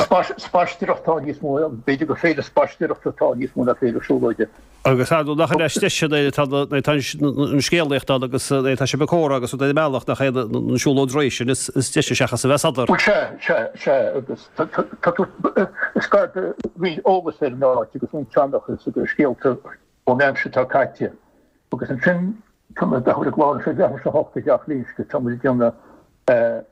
Spaisteoireacht atá níos mó, b'fhéidir gur féile spaisteoireachta atá níos mó ná féile siúlóide. Agus ar ndóigh nach in is deise nuair atá an scéalaíocht ann agus nuair atá sibh ag comhrá agus rud ar an mbealach nach é an siúlóid réidh sin is deise seachas a bheith sodar. Bhuel sea, sea, sea agus tá tú, is gar do roinnt eolas ar an áit agus roinnt seanchas agus scéalta ón aimsir atá caite agus ansin tá mé ag dul ag lár sé leathuair tar éis a hocht i dTeach Loingsigh, tá muid ag déanamh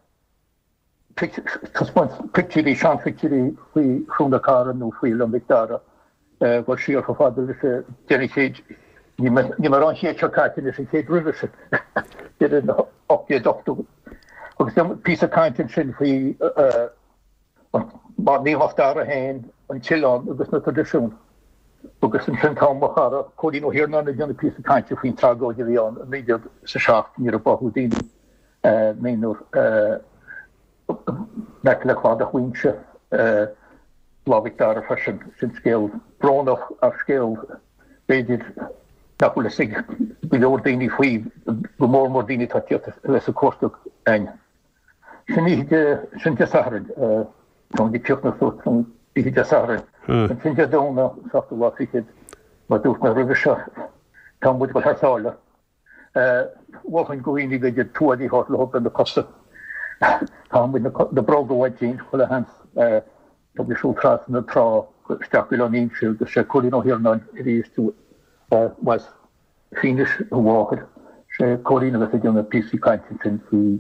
taispeáint pictiúirí, seanphictiúirí faoi Chró na Carra nó faoi Oileán Mhic Dara, dul siar chomh fada leis an deireadh an chéid, níl mé ag rá an chéad seo caite anois, an chéad roimhe sin, deireadh na 1880. Agus píosa cainte ansin faoi Naomh Mac Dara féin, an t-oileán agus na traidisiúin. Agus ansin tá mo chara Cóilín Ó hIarnáin ag déanamh píosa cainte faoin tragóid a bhí ann i 1907 nuair a báthadh daoine. naonúr in aice le cladach Mhuighinse, Lá Mhic Dara freisin. Sin scéal brónach ach scéal b'fhéidir nach bhfuil fhios ag go leor daoine faoi, go mór mór daoine atá ag tíocht a bheith ag cuartú againn. Sin oíche Dé, sin Dé Sathairn, tá muid ag críochnú suas an oíche Dé Sathairn. Ansin Dé Domhnaigh, seachtú lá fichead, mar a dúirt mé roimhe seo, tá muid ag dul thar sáile. Mholfainn do dhaoine b'fhéidir tuáillí a thabhairt leo do na cosa. Caithfidh muid na bróga a bhaint dínn, chuile sheans. Tá muid ag siúl trasna na trá isteach go Oileán Inse agus sé Cóilín Ó hIarnáin arís as Fínis a mháthair. Sé Cóilín a bheas ag déanamh píosaí cainte ansin faoi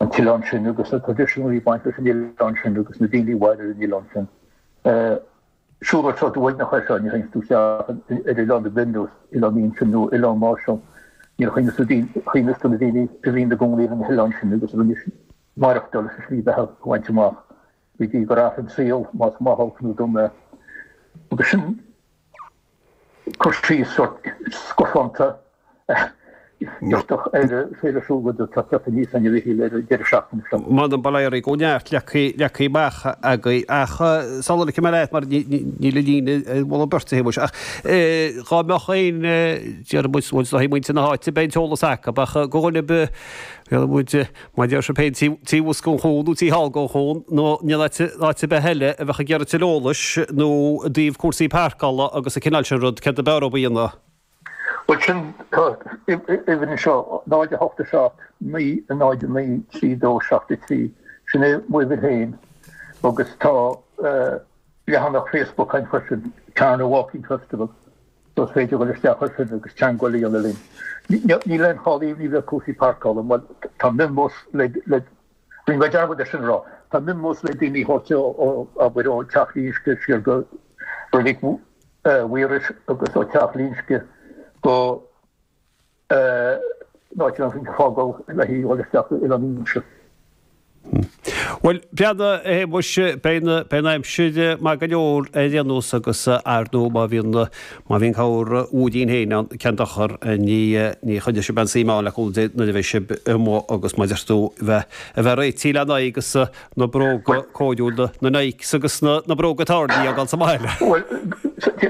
an t-oileán sin agus na traidisiúin a bhí ag baint leis an oileán sin agus na daoine a mhair ar an oileán sin. Siúlóid sórt uaigneach é seo, ní théanns tú isteach ar oileán ar bith nó Oileán Inse nó Oileán Mharshall, níor chuimhneas tú na daoine a bhí ina gcónaí ar na hoileáin sin agus a rinne maireachtáil agus a slí beatha a bhaint amach go dtí gur athraigh an saol, más maith olc nó dona é. Agus sin cur síos sórt scafánta giortach ar Féile Siúlóide atá ag teacht aníos againn a Mhichíl ar an deireadh seachtaine seo. M'anam bail ó Dhia oraibh, go neart leagtha amach agaibh ach sula ligfidh mé leat mar níl an líne ar mholadh beirte a Shéamuis ach dhá mbeadh aon déarfaidh muid bhuel is dóigh muintir na háite beidh an t-eolas acu ach do dhuine ar bith déarfaidh muid mar a deir sibh féin taobh thuas den chuan nó taobh thall den chuan nó in áit ar bith eile a bheadh ag iarraidh tuilleadh eolais nó i dtaobh cúrsaí páirceála agus an cineál sin rud céard ab fhearr dóibh a dhéanamh? Bhuel sin, tá uimhir anseo, 0 8 7 9 0 9 3 2 7 3, sin é m'uimhir féin agus tá leathanach Facebook againn freisin, Carna Walking Festival, so is féidir dul isteach air sin agus teagmháil a dhéanamh linn. Níl aon chall ní bheidh cúrsaí páirceála, bhuel tá mionbhus le, le, rinne mé dearmad é sin a rá, tá mionbhus le daoine a thabhairt ó, abair, ó Teach Loingsigh siar go Reilig Mhaorais agus ó Teach Loingsigh go áit an fágáil le haghaidh dhul isteach go Oileán Inse. Bhuel, breathnaigh, a Shéamuis, beidh an aimsir maith go leor ar aon nós agus ar ndóigh má bhíonn má bhíonn corr mhúirín féin ann, cén dochar, ní ní choinneoidh sibh aon suim ann le cúnamh Dé nuair a bheidh sibh amuigh agus mar a deir tú bheith a bheith réitithe le n-aghaidh agus na bróga cóiriúla, na Nikes agus na bróga tairní a fhágáil sa mbaile. Bhuel,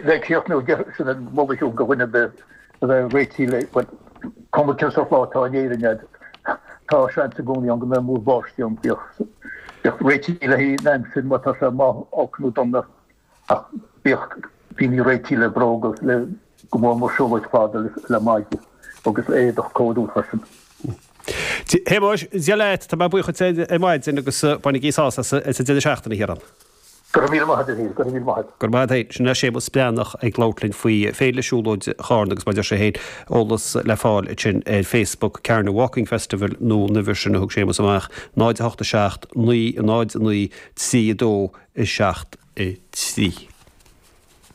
le críochnú, sin an moladh do dhuine ar bith a bheith réitithe le, bhuel, cuma cén sórt lá atá in Éirinn agat, tá seans i gcónaí ann go mbeidh múr báistí ann, bíodh réitithe le haghaidh an aimsir má tá sé maith, olc nó dona. Ach bíodh daoine réitithe le bróga, le go mór mór siúlóid fada le maide agus le éadach cóiriúil freisin. Shéamuis, Dia leat, tá mé buíoch duit ar maidin agus bainigí sásamh as an deireadh seachtaine, a Chiaráin. Go raibh míle maith agat, a Mhichíl, go raibh míle maith agat. Go raibh maith agat féin. Sin é Séamus Breathnach ag labhairt linn faoi Féile Siúlóide Charna agus mar a deir sé féin, eolas le fáil ansin ar Facebook, Carna Walking Festival nó an uimhir sin a thug Séamus amach, 0 8 7 9 0 9 3 2 7 3.